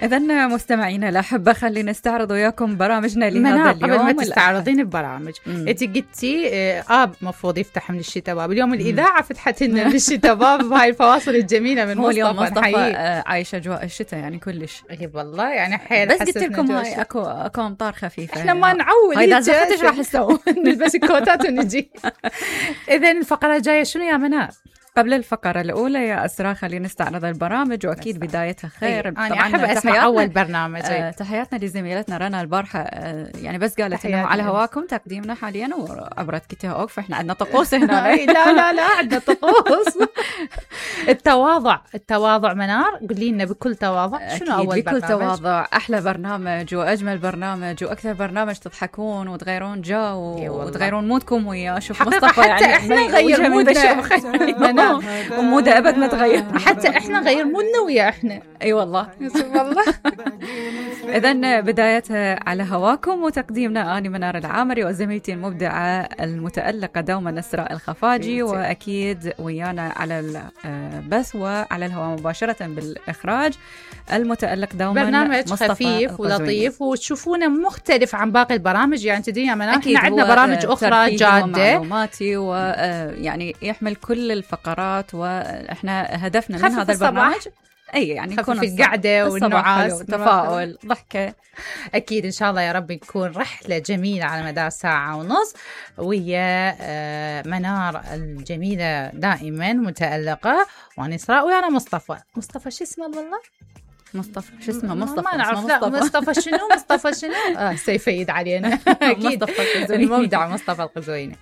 إذن مستمعينا الأحبة، خلينا نستعرض وياكم برامجنا لهذا اليوم. قبل ما تستعرضين ببرامج، انت قلتي مفروض يفتح من الشتاء باب. اليوم الإذاعة فتحت لنا من الشتاء باب بهاي الفواصل الجميلة من مصطفى عايشة أجواء الشتاء يعني كلش. والله يعني حيل. بس قلت لكم هاي اكو أمطار خفيفة. احنا ما نعود. هاي لازم ايش راح نسوي؟ نلبس الكوتات ونجي. إذن الفقرة الجاية شنو يا منار؟ قبل الفقرة الأولى يا أسراء خلينا نستعرض البرامج، وأكيد بدايتها خير. أنا أحب أسمع أول برنامج. تحياتنا لزميلتنا رنا البارحة، يعني بس قالت إنه على هواكم تقديمنا حاليا وعبرت كتها أوقف. إحنا عندنا طقوس هنا. لا عندنا طقوس. التواضع منار، قولي لنا بكل تواضع شنو أول بكل برنامج؟ تواضع أحلى برنامج وأجمل برنامج وأكثر برنامج تضحكون وتغيرون جو وتغيرون مودكم وياه. شوف مصطفى يعني إحنا نغير مودنا ومودة أبد ما تغير. حتى إحنا نغير مودنا ويا إحنا. أي والله. إذن بدايتها على هواكم وتقديمنا أنا منار العامري وزميلتي المبدعة المتألقة دوما إسراء الخفاجي، وأكيد ويانا على البث وعلى الهواء مباشرة بالإخراج المتألق دوما برنامج خفيف ولطيف وتشوفونه مختلف عن باقي البرامج. يعني تدري يا منار احنا عندنا برامج أخرى جادة معلوماتي ويعني يحمل كل الفقرات، وإحنا هدفنا من هذا البرنامج يعني يكون في القعدة والنعاس تفاؤل ضحكة. أكيد إن شاء الله يا رب تكون رحلة جميلة على مدار ساعة ونص ويا منار الجميلة دائما متألقة، وأنا إسراء وأنا مصطفى شو اسمه والله؟ مصطفى شو اسمه؟ مصطفى ما نعرف. لا مصطفى شنو سيفيد علينا. أكيد المبدع مصطفى القزويني.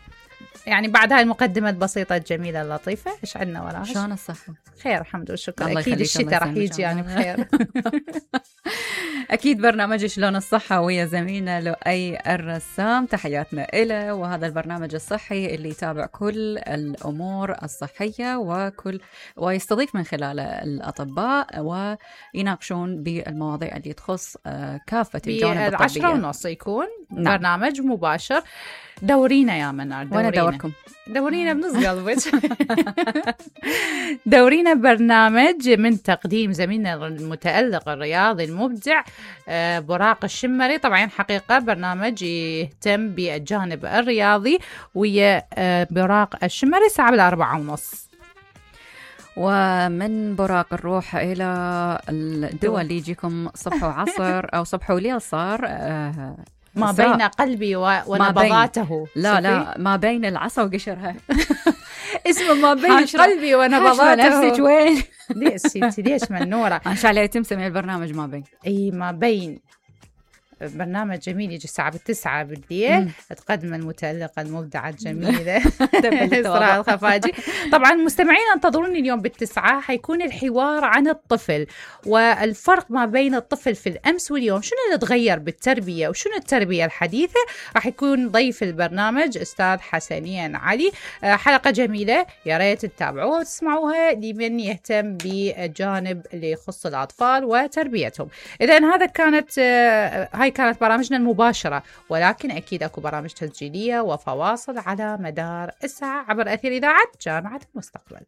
يعني بعد هاي المقدمة البسيطة الجميلة اللطيفة إيش عندنا وراها؟ شلون الصحة؟ خير الحمد لله والشكر. أكيد الشتاء راح يجي يعني بخير. أكيد برنامج شلون الصحة ويا زميلنا لؤي الرسام، تحياتنا إله. وهذا البرنامج الصحي اللي يتابع كل الأمور الصحية ويستضيف من خلاله الأطباء ويناقشون بالمواضيع اللي تخص كافة الجوانب الطبية. 10:30 يكون برنامج مباشر. دورينا يا منار. وانا دوركم. دورينا بنص قلبك. دورينا برنامج من تقديم زميلنا المتألق الرياضي المبدع براق الشمري. طبعا حقيقة برنامج يهتم بالجانب الرياضي ويا براق الشمري الساعة 4:30. ومن براق الروح إلى الدول اللي يجيكم صبح وعصر أو صبح وليل صار ما بين قلبي ونبضاته. لا ما بين العصا وقشرها. اسمه ما بين قلبي ونبضاته. نفسك وين؟ ليش منورة؟ إن شاء الله يتم سمي البرنامج ما بين. ما بين. برنامج جميل يجي الساعة 9 بالليل. تقدم المتألقة المبدعة الجميلة إسراء الخفاجي. طبعا مستمعين انتظروني اليوم 9 حيكون الحوار عن الطفل والفرق ما بين الطفل في الأمس واليوم، شنو اللي تغير بالتربية وشنو التربية الحديثة. راح يكون ضيف البرنامج أستاذ حسنين علي. حلقة جميلة يا ريت تتابعوها وتسمعوها لمن يهتم بالجانب اللي يخص الأطفال وتربيتهم. إذن هاي كانت برامجنا المباشرة، ولكن أكيد أكو برامج تسجيلية وفواصل على مدار الساعة عبر أثير إذاعة جامعة المستقبل.